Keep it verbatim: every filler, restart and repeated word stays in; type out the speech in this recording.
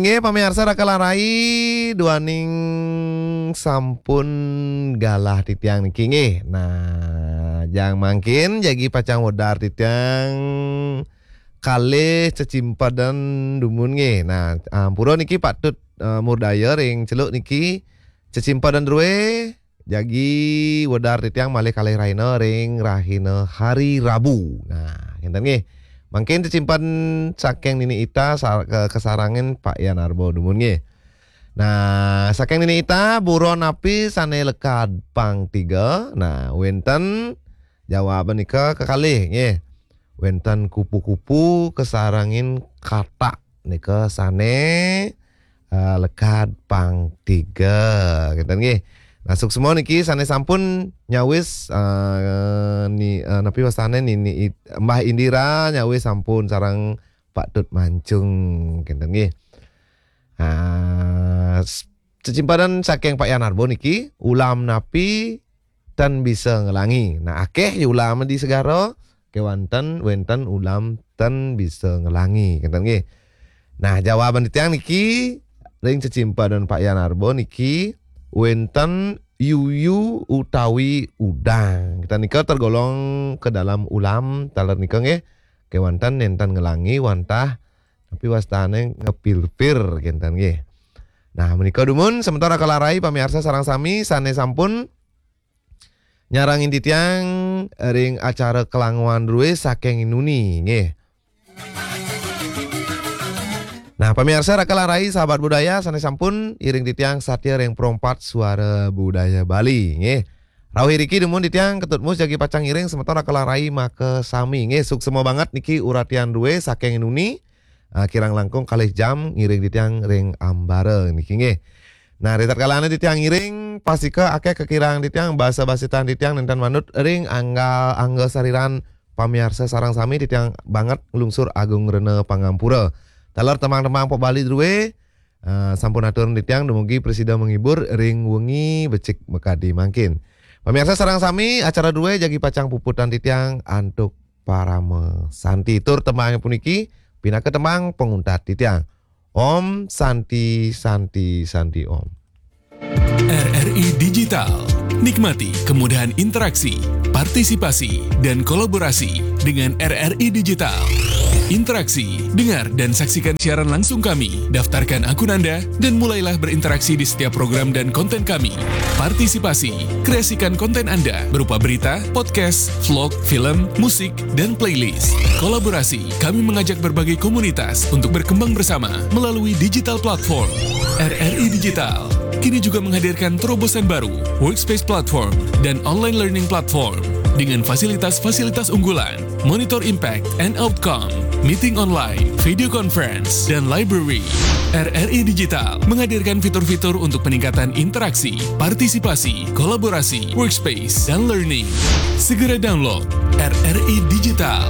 Nggih, pamiarsa Raka lan Rai, duaning sampun galah titiang niki nggih. Nah, jang mangkin jagi pacang wedar titiang kalih cecimpedan dumun nggih. Nah, ampura niki patut, eh, murdaya ring celuk niki cecimpedan drué jagi wedar titiang malih kalih rahina ring rahina hari Rabu. Nah, ngénten nggih. Mangkin cecimpedan saking Nini Ita sa-, ke-, kasarengin Pak Yan Arba dumun nggih. Nah, saking Nini Ita, buron napi sané lekad pang tiga? Nah, wénten jawaban nika kekalih nggih. Wénten kupu-kupu kasarengin katak nika sané, eh, lekad pang tiga. Ngénten nggih. Nah, suksma niki sané sampun nyawis, eh, ni, eh, napi wastané Nini It-, Mbah Indira nyawis sampun sareng Pak Tut Mancung. Ngénten nggih. Ah, s-, cecimpedan saking Pak Yan Arba niki, ulam napi tan bisa ngelangi. Nah, akéh ya ulam di segara, kéwanten wénten ulam tan bisa ngelangi. Ngénten nggih. Nah, jawaban titiang niki ring cecimpedan Pak Yan Arba niki wénten yuyu utawi udang. Kita nika tergolong ke dalam ulam taler nika nggih. Kéwanten nénten ngelangi wantah napi wastané ngepir-pir ngénten nggih. Nah, menika dumun semeton Raka lan Rai pamiarsa sareng sami sané sampun nyarengin titiang ring acara Kelanguan Drué saking Nini nggih. Nah, pamiarsa Raka lan Rai sahabat budaya sané sampun iring titiang satia ring Pro empat Suara Budaya Bali nggih. Rauh iriki dumun titiang Ketut Mus jagi pacang ngiring semeton Raka lan Rai makasami nggih. Suksma banget niki uratian drué saking Nini. Ah, kirang langkung kalih jam ngiring titiang ring ambara niki nggih. Nah, ritatkalané titiang ngiring, pastika akéh kakirang titiang, basa-basitan titiang nénten manut ring angga, angga sariran pamiarsa sareng sami titiang banget nglungsur agung rena pangampura. Taler tembang-tembang pop Bali drué, eh, sampun atur titiang dumugi prasida menghibur ring wengi becik makadi mangkin. Pamiarsa sareng sami, acara drué jagi pacang puputang titiang antuk parama santi. Tur tembang puniki pinaka tembang panguntat titiang. Om Santi, Santi, Santi Om. R R I Digital. Nikmati kemudahan interaksi, partisipasi, dan kolaborasi dengan R R I Digital. Interaksi, dengar dan saksikan siaran langsung kami. Daftarkan akun Anda dan mulailah berinteraksi di setiap program dan konten kami. Partisipasi, kreasikan konten Anda berupa berita, podcast, vlog, film, musik, dan playlist. Kolaborasi, kami mengajak berbagai komunitas untuk berkembang bersama melalui digital platform. R R I Digital kini juga menghadirkan terobosan baru, Workspace Platform dan Online Learning Platform dengan fasilitas-fasilitas unggulan, monitor impact and outcome, meeting online, video conference, dan library. R R I Digital menghadirkan fitur-fitur untuk peningkatan interaksi, partisipasi, kolaborasi, workspace, dan learning. Segera download R R I Digital.